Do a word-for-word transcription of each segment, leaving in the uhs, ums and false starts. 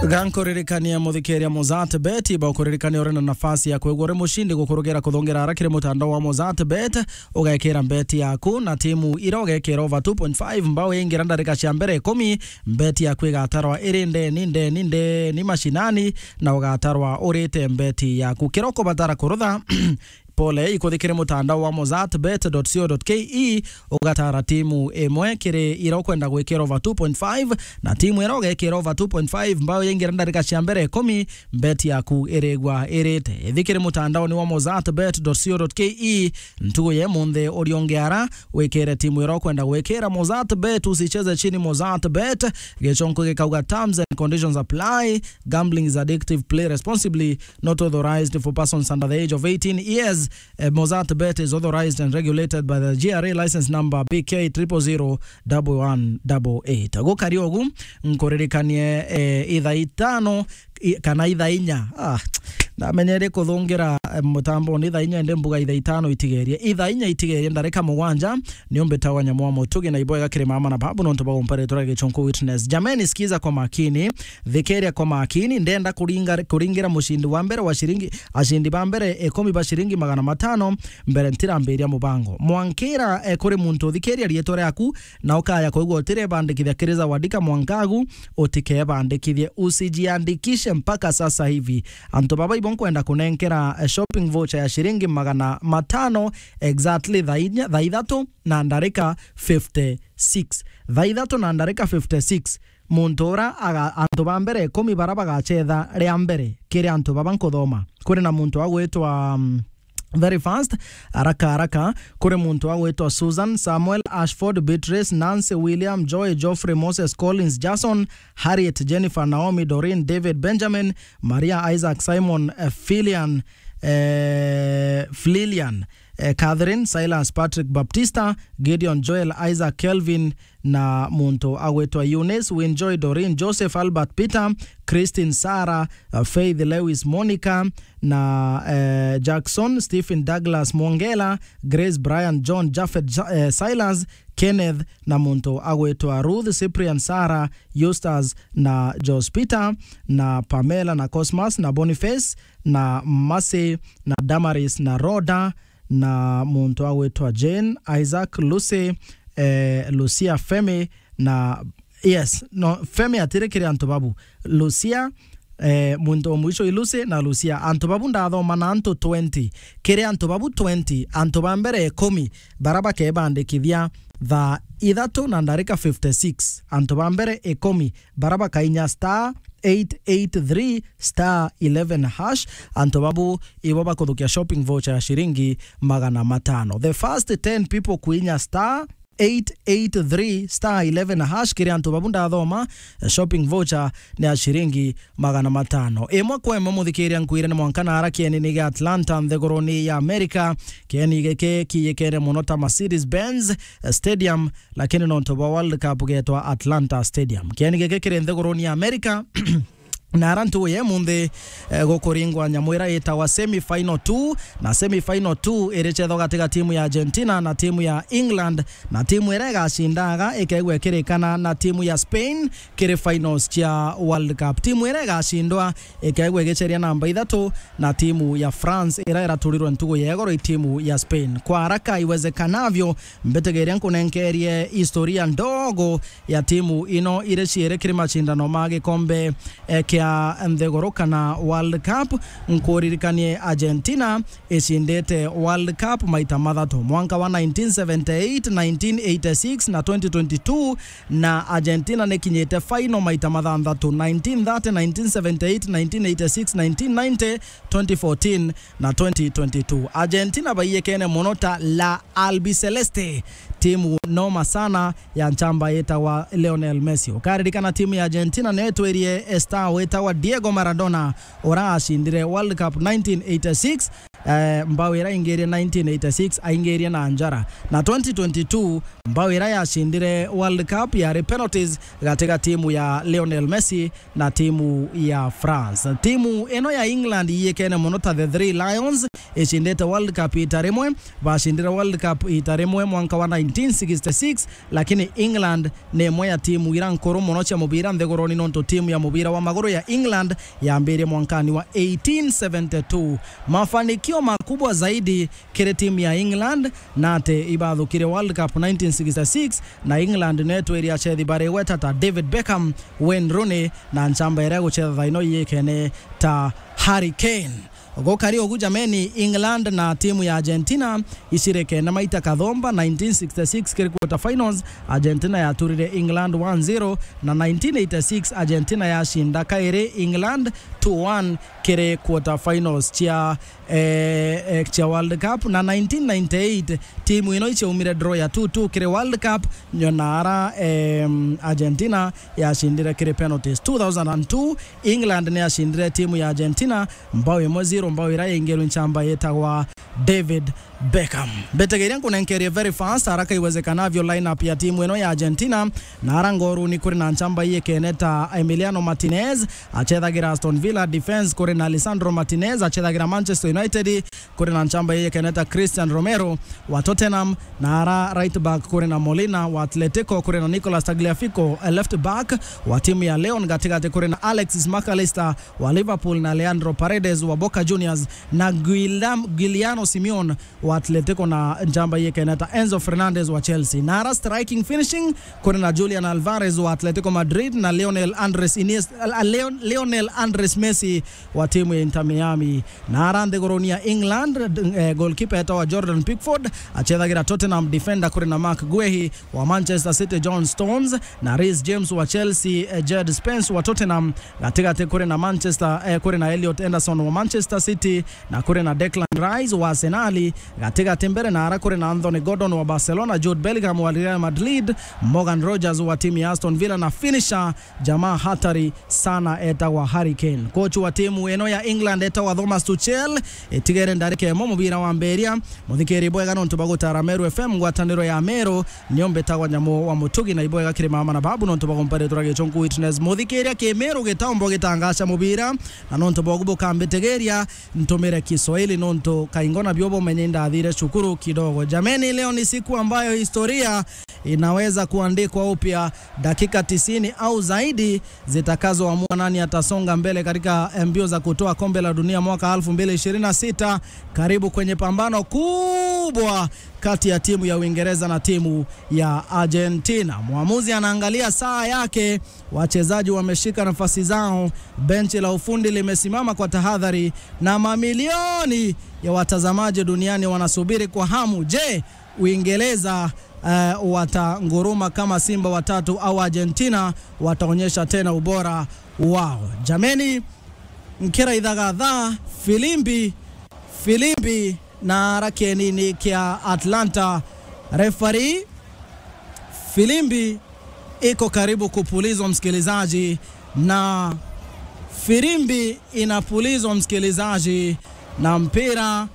Gankuririkania muthikiria Mozart Bet, iba ukuririkania uri na nafasi ya kwigua uri mucindi gukurugira kuthongera ara kiri mutandao wa Mozart Bet, ugekira mbeti yaku na timu ira ugekira over two point five mbao yaingira ndarika cia mbere ikumi, mbeti yaku igatarwa iri ndeni, ndeni, ndeni mashinani, na ugatarwa urite mbeti yaku. Kiria ukubatara kurutha, pole, ikuthikire mutandao wa mozart bet dot co dot ke, ugatara timu imwe kiri ira ukwenda gwikira over two point five, na timu ira ugekira over two point five mbao yaingira ndarika cia mbere ikumi, mbeti yaku irigwa irite. Ithikire mutandaoni wa mozart bet dot co dot ke ntugu ya imunthi, uriungi ara wikire timu ira ukwenda gwikira. Mozart Bet, usicheze chini Mozart Bet. Gichonko gikauga, "Terms and conditions apply. Gambling is addictive. Play responsibly. Not authorized for persons under the age of eighteen years." Eh, Mozart Bet is authorized and regulated by the G R A license number B K triple zero double one double eight. Gukari ugu, nkuririkanie, eh, ithaa itano i-, kana ithaa inya. Ah, ndamenyere kuthungira, eh, mutamboni ithaa inya, indi mbuga ithaa itano itigerie. Ithaa inya itigerie ndarika mugwanja, ni umbitagwa Nyamuomo Tugi na ibwega kiri mama na babu nontu bwa gumpa ritwa ria Gichunku Witness. Jameni, sikiza kwa makini, thikiria kwa makini, ndenda kuringa-, kuringira mucindi wa mbere wa shiringi, ashindi ba mbere ikumi ba shiringi magana matano, mbere ntirambiria mubango. Mwankira, eh, kuri muntu uthikiria rietwa riaku, na ukaya kwigua utirebandikithia kiri Zawadi Kamwangagu, utikebandikithie, usijiandikishe mpaka sasa hivi. Antu baba ibo nkwenda kunenkera, eh, shopping voucher ya shiringi magana matano exactly thaa inya, thaa ithatu na ndarika fifty six. Thaa ithatu na ndarika fifty six, muntu ura aga-, antu ba mbere ikumi bara bagachetha ria mbere kiri antu baba nkuthoma. Kuri na muntu agwitwa, mm, very fast, haraka haraka, kuri muntu agwitwa Susan, Samuel, Ashford, Beatrice, Nancy, William, Joy, Geoffrey, Moses, Collins, Jason, Harriet, Jennifer, Naomi, Doreen, David, Benjamin, Maria, Isaac, Simon, eh, Filian, eh, Flilian, eh, Catherine, Silas, Patrick, Baptista, Gideon, Joel, Isaac, Kelvin, na muntu agwitwa Eunice, Winjoy, Doreen, Joseph, Albert, Peter, Christine, Sarah, uh, Faith, Lewis, Monica, na, eh, Jackson, Stephen, Douglas, Mwongela, Grace, Brian, John, Japhet, Ja-, eh, Silas, Kenneth, na muntu agwitwa Ruth, Cyprian, Sarah, Eustace, na Jos Peter, na Pamela, na Cosmas, na Boniface, na Mercy, na Damaris, na Rhoda, na muntu agwitwa Jane, Isaac, Lucy, eh, Lucia, Femi, na, yes, no, Femi atiri kiri antu babu. Lucia, eh, muntu o mwisho i Lucy na Lucia. Antu babu ndathoma na antu twenty. Kiri antu babu twenty, antu ba mbere ikumi bara bakebandikithia thaa ithatu na ndarika fifty six. Antu ba mbere ikumi bara bakainya star eight eight three star eleven hash. Antu babu ibo bakuthukia shopping voucher ya shiringi magana matano. The first ten people kuinya star eight eight three star eleven hash, kiri antu babu ndathoma, eh, shopping voucher ni ya shiringi magana matano. Imwe kwa imwe, muthikiria, nkwire ni mwanka na ara kieni ni gia Atlanta, nthiguruni ya America. Kieni giki kiyikene muno ta Mercedes Benz, eh, Stadium, lakini nontu bwa World Cup getwa Atlanta Stadium. Kieni giki kiri nthiguruni ya America. Na ara ntugu ya imunthi, eh, gukuringwa nyamu ira itagwa semi final two, na semi final two iri chetho gati ga timu ya Argentina na timu ya England, na timu ira igacindaga ikaigua ikirikana na timu ya Spain kiri finals cia World Cup. Timu ira igacindwa ikaigua igiceria namba ithatu na timu ya France ira iraturirwe ntugu ya igoro i timu ya Spain. Kwa haraka iwezekanavyo, mbitigiria nkunenkerie historia ndogo ya timu ino iri ciiri kiri macindano ma gikombe, eh, kia nthiguru kana World Cup. Nkuririkanie Argentina icindite World Cup maita mathatu, mwanka wa nineteen seventy-eight, nineteen eighty-six na twenty twenty-two, na Argentina nikinyite final maita mathanthatu, nineteen thirty, nineteen seventy-eight, nineteen eighty-six, nineteen ninety, twenty fourteen na twenty twenty-two. Argentina baiyekene muno ta La Albiceleste, timu noma sana ya nchamba yetagwa Lionel Messi. Ukaririkana timu ya Argentina niyo itwirie star wetagwa Diego Maradona, ura acindire World Cup nineteen eighty-six, eh, mbao ira ingirie nineteen eighty-six aingirie na njara. Na twenty twenty-two, mbao ira yacindire World Cup yari penalties gati ga timu ya Lionel Messi na timu ya France. Timu ino ya England iyikene mono ta the Three Lions, icindite World Cup ita rimwe. Bacindire World Cup ita rimwe mwanka wa nineteen sixty-six, lakini England ni imwe ya timu ira nkuru mono cia mubira nthiguruni, nontu timu ya mubira wa maguru ya England yambirie mwankani wa eighteen seventy-two. Mafanikio makubwa zaidi kiri timu ya England na ati ibathukire World Cup nineteen sixty-six, na England netwirie acethi barigweta ta David Beckham, Wayne Rooney, na nchamba iria igucetha thaino iyikene ta Harry Kane. Gukari ugu jameni, England na timu ya Argentina icirikene maita kathomba, nineteen sixty-six kiri quarter finals, Argentina yaturire England one zero, na nineteen eighty-six Argentina yacinda kairi England two one kiri quarter finals cia, eh, eh, cia World Cup, na nineteen ninety-eight timu ino ichiaumire draw ya two two kiri World Cup, nyo na ara, em, Argentina yacindire kiri penalties. Two thousand and two, England ni yacindire timu ya Argentina mbao imwe zero, mbao ira yaingirwe nchamba yitagwa David Beckham. Mbetegeria nkunenkerie very fast, haraka iwezekanavyo, lineup ya timu ino ya Argentina. Na ara ngoruni kuri na nchamba iyikene ta Emiliano Martinez, achethagira Aston Villa. Defense kuri na Lisandro Martinez, achethagira Manchester United. Kuri na nchamba iyikene ta Christian Romero wa Tottenham, na ara right back kuri na Molina wa Atletico, kuri na Nicolas Tagliafico, eh, left back wa timu ya Leon, gatigati kuri na Alexis Mac Allister wa Liverpool na Leandro Paredes wa Boca Juniors, na Guillam-, Guiliano Simeone wa Atletico, na nchamba iyikene ta Enzo Fernandez wa Chelsea. Na ara striking finishing kuri na Julian Alvarez wa Atletico Madrid na Lionel Andres Iniesta, Leon-, Lionel Andres Messi wa timu ya Inter Miami. Na ara nthiguruni ya England, d-, eh, goalkeeper etawa Jordan Pickford, achethagira Tottenham. Defender kuri na Marc Guehi wa Manchester City, John Stones na Reece James wa Chelsea, eh, Jed Spence wa Tottenham. Gatigati kuri na Manchester, eh, kuri na Elliot Anderson wa Manchester City, na kuri na Declan Rice wa Arsenal. Gatigati mbere na ara kuri na Anthony Gordon wa Barcelona, Jude Bellingham wa Real Madrid, Morgan Rogers wa timu ya Aston Villa, na finisher jamaa hatari sana etagwa Harry Kane. Coach wa timu ino ya England etagwa Thomas Tuchel. Itigere ndarika imwe mubira wambiria. Muthikiri bwega nontu bwa gutara Meru F M, ngwataniro ya Meru, nio mbitagwa Nyamu wa Mutugi, na ibwega kiri mama na babu nontu bwa kumpa ritwa ria gichunku witness. Muthikiria ki Meru gitambo gitangaca mubira, na nontu bwa ugu bukambitigiria ntumire Kiswahili nontu kaingo nabio bumenye ndathire cukuru kidogo. Jameni, leo ni siku ambayo historia inaweza kuandikwa upya. Dakika tisini au zaidi zitakazoamua nani atasonga mbele katika mbio za kutoa kombe la dunia mwaka elfu mbili ishirini na sita. Karibu kwenye pambano kubwa kati ya timu ya Uingereza na timu ya Argentina. Mwamuzi anaangalia saa yake, wachezaji wameshika nafasi zao, benchi la ufundi limesimama kwa tahadhari, na mamilioni ya watazamaji duniani wanasubiri kwa hamu. Je, Uingereza, eh, watanguruma kama simba watatu au Argentina wataonyesha tena ubora wao? Jameni, nkira ithagatha, filimbi, filimbi na ara kienini kia Atlanta. Referee, filimbi iko karibu kupulizwa, msikilizaji, na filimbi inapulizwa, msikilizaji, na mpira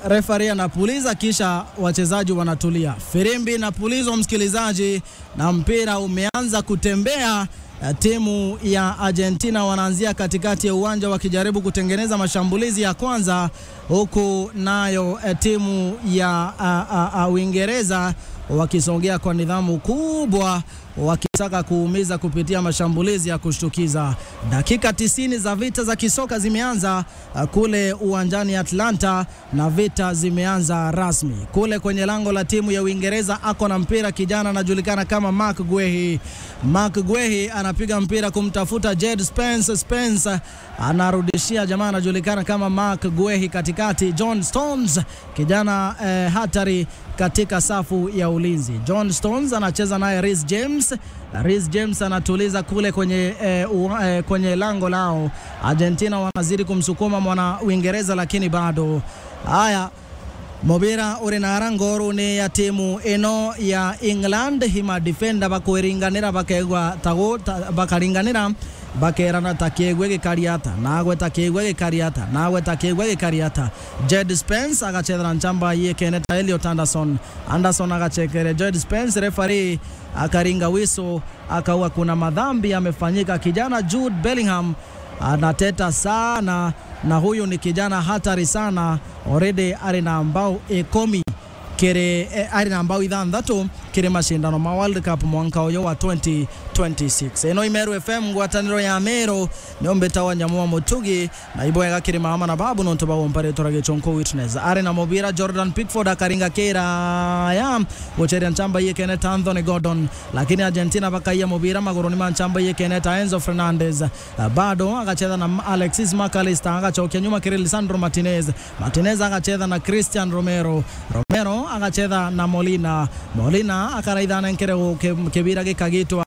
Referee anapuliza, kisha wachezaji wanatulia. Firimbi inapulizwa, msikilizaji, na mpira umeanza kutembea. Eh, timu ya Argentina wanaanzia katikati ya uwanja wakijaribu kutengeneza mashambulizi ya kwanza, huku nayo, eh, timu ya, ah, ah, ah, Uingereza wakisongea kwa nidhamu kubwa, wakitaka kuumiza kupitia mashambulizi ya kushtukiza. Dakika tisini za vita za kisoka zimeanza, ah, kule uwanjani Atlanta, na vita zimeanza rasmi. Kule kwenye lango la timu ya Uingereza ako na mpira kijana anajulikana kama Marc Guehi. Marc Guehi anapiga mpira kumtafuta Jed Spence. Spence anarudishia jamaa anajulikana kama Marc Guehi katikati. John Stones, kijana, eh, hatari katika safu ya ulinzi. John Stones anacheza naye Reece James. Reece James anatuliza kule kwenye, eh, ua-, eh, kwenye lango lao. Argentina wanazidi kumsukuma mwana Uingereza, lakini bado. Haya, mubira uri na ara ngoruni ya timu ino ya England, hima defender bakwiringanira, bakegwa tagu-, ta-, bakaringanira, bakerana ta kiegwe gikari ata, nagwe ta kiegwe gikari ata, nagwe ta kiegwe gikari ata. Jed Spence agachethera nchamba yikene ta Elliot Anderson. Anderson agachekere Jed Spence, referee akaringa whistle, akauga kuna madhambi yamefanyika. Kijana Jude Bellingham anateta sana, na huyu ni kijana hatari sana. Already ari na mbao ikumi kiri, eh, ari na mbao ithanthatu kiri mashindano ma World Cup mwanka uyu wa twenty twenty-six. Ino i Meru F M, ngwataniro ya Meru, nio mbitawa Nyamu wa Mutugi, na ibwega kiri mama na babu nontu bagompa ritwa ria Gichunku Witness. Ari na mubira, Jordan Pickford akaringa kiraya gucheria nchamba yikene ta Anthony Gordon, lakini Argentina bakaiya mubira maguruni ma nchamba yikene ta Enzo Fernandez. Ah, bado agachetha na M-, Alexis Mac Allister, agachokia nyuma kiri Lisandro Martinez. Martinez agachetha na Christian Romero. Romero agachetha na Molina. Molina akaraithana nkere gu-, ki-, kibira gikagitwa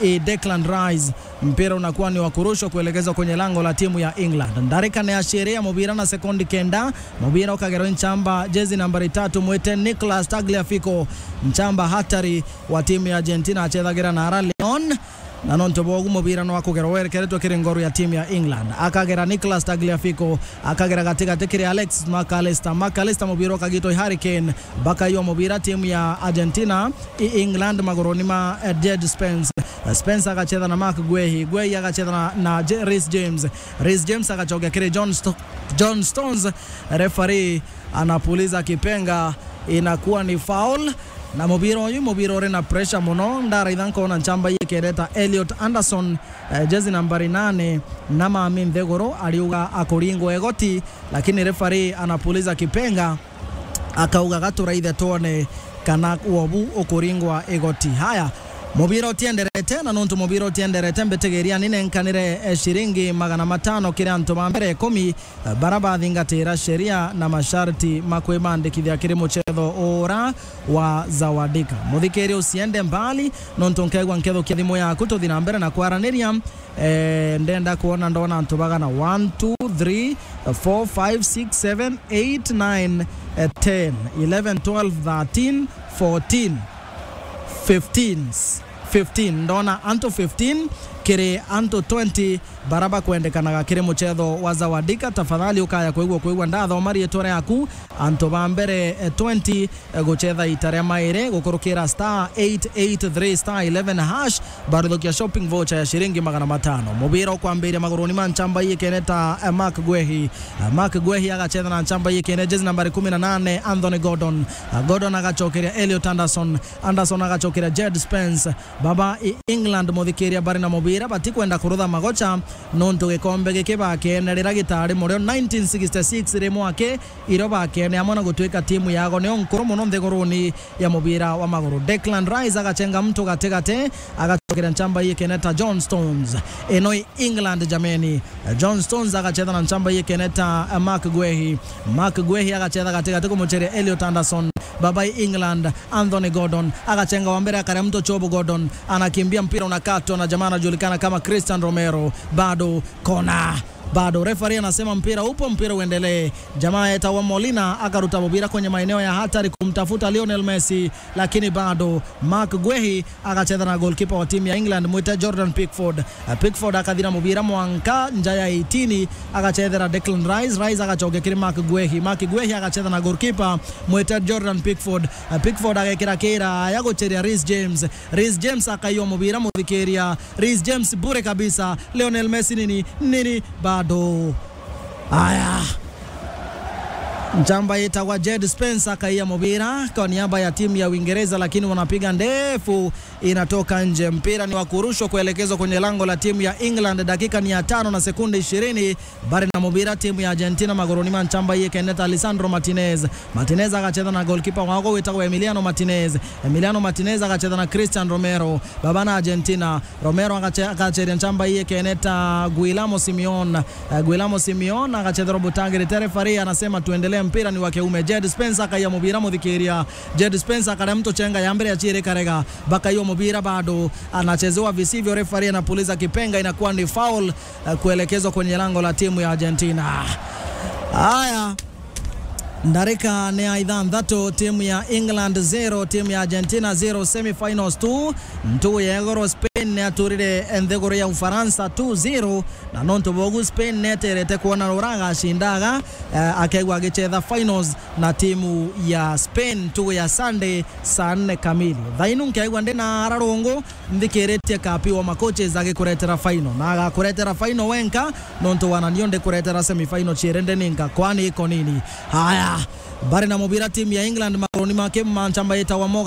i Declan Rice. Mpira unakuwa ni wa kurushwa kuelekezwa kwenye lango la timu ya England. Ndarika ni ya ciiri ya mubira na sekondi kenda. Mubira ukagerwa nchamba, jezi nambari tatu, mwite Nicolas Tagliafico. Nchamba hatari wa timu ya Argentina achethagira na ara Leon. Na nontu bwogu mubira no akugerwa werekeretwe kiri ngoru ya timu ya England. Akagera Nicolas Tagliafico, akagera gatigati kiri Alex Mac Allister. Mac Allister, mubira ukagitwa i Harry Kane. Bakaiwa mubira timu ya Argentina, i England maguruni ma, eh, Jed Spence. Eh, Spence agachetha na Marc Guehi. Guehi agachetha na, na Je-, Reece James. Reece James agachokia kiri John Sto-, John Stones. Referee anapuliza kipenga, inakuwa ni foul. Na mubira uyu, mubira uri na pressure muno. Ndaraitha nkona nchamba yikene ta Elliot Anderson, eh, jezi nambari nane, na mami ntheguru, ariuga akuringwa igoti, lakini referee anapuliza kipenga, akauga, "Gaturaithe twone kana wobu ukuringwa igoti." Haya, mubira utienderete, na nontu mubira utienderete, mbitigiria ni nenkanire, eh, ciringi magana matano kiri antu ba mbere ikumi, eh, bara bathingatira sheria na masharti ma kwibandikithia kiri muchetho ura wa Zawadika. Muthikiri, usiende mbali, nontu nkegwa nkethukia thimu yaku, tuthi na mbere na kwaraniria. Eh, ndenda kwona, ndona antu bagana: one, two, three, four, five, six, seven, eight, nine, eh, ten, eleven, twelve, thirteen, fourteen, fifteen, fifteen. Ndona antu fifteen kiri antu twenty bara bakwendekanaga kiri muchetho wa Zawadika. Tafadhali ukaya kwigua, kwigua ndathoma riitwa riaku. Antu ba mbere, eh, twenty, eh, guchetha ita ria mairi gukurukira star eight eight three star eleven hash, baruthukia shopping voucher ya ciringi magana matano. Mubira ukwambiria maguruni ma nchamba yikene ta, eh, Marc Guehi. Eh, Marc Guehi agachetha na nchamba yikene, jezi nambari kumi na nane, Anthony Gordon. Eh, Gordon agachokeria Elliot Anderson. Anderson agachokeria Jed Spence. Baba i England, muthikiria, bari na mubira, batikwenda kurutha magocha, nontu gikombe giki bakene rira gitari murio nineteen sixty-six ri mwaki, irio bakene amwe na gutuika timu yago nio nkuru muno nthiguruni ya mubira wa maguru. Declan Rice agachenga mtu gatigati, agachokeria nchamba yikene ta John Stones. Ino i England, jameni. John Stones agachetha na nchamba yikene ta, eh, Marc Guehi. Marc Guehi agachetha gatigati kumucheria Elliot Anderson. Baba i England, Anthony Gordon agachenga wa mbere, akaria mtu chobo. Gordon anakimbia, mpira unakatwa na jamaa anajulikana kama Christian Romero. Bado kona, bado referee anasema mpira upo, mpira uendelee. Jamaa etawa Molina akaruta mubira kwenye maeneo ya hatari kumtafuta Lionel Messi, lakini bado Marc Guehi agachetha na goalkeeper wa timu ya England, mwite Jordan Pickford. Eh, Pickford akathira mubira mwanka nja ya eighteen, agachethera Declan Rice. Rice agachokia kiri Marc Guehi. Marc Guehi agachetha na goalkeeper, mwite Jordan Pickford. Eh, Pickford agekira kiraya gucheria Reece James. Reece James akaiwa mubira, muthikiria. Reece James bure kabisa. Lionel Messi nini? Nini? Bado. Aya. Njamba yetagwa Jed Spence akaiya mubira kwa niaba ya timu ya Uingereza, lakini wanapiga ndefu, inatoka nje. Mpira ni wa kurushwa kuelekezwa kwenye lango la timu ya England. Dakika ni ya tano na sekunde ishirini. Bari na mubira timu ya Argentina maguruni ma njamba yekene ta Lisandro Martinez. Martinez agachetha na goalkeeper wago wetagwa Emiliano Martinez. Emiliano Martinez agachetha na Christian Romero. Baba na Argentina. Romero agache-, agacheria njamba yekene ta Guillermo Simeone. Eh, Guillermo Simeone agachetherwa butangirite, referee anasema tuendelee, mpira ni wa kiume. Jed Spence akaiya mubira, muthikiria. Jed Spence akaria mtu chenga ya mbere ya chiri karega. Bakaiwa mubira bado. Anachezewa visivyo, referee anapuliza kipenga, inakuwa ni foul, eh, kuelekezwa kwenye lango la timu ya Argentina. Haya. Ndarika ni ya ithanthatu, timu ya England zero, timu ya Argentina zero, semifinals two. Ntugu ya igoro Spain Spain ni aturire nthiguru ya Ufaransa two zero, na nontu bogu Spain neterete kwona rura agacindaga, eh, akegwa agicetha finals na timu ya Spain ntugu ya Sunday saa nne kamili. Thainu nkeigwa ndi na ara rungu nthikiritie kapi wa macoaches agikuretera final, na agakuretera final wenka nontu wananio ndikuretera semi final chirende ninka kwani iko nini. Haya, bari na mubira timu ya England maguruni make manchamba yetawa Mo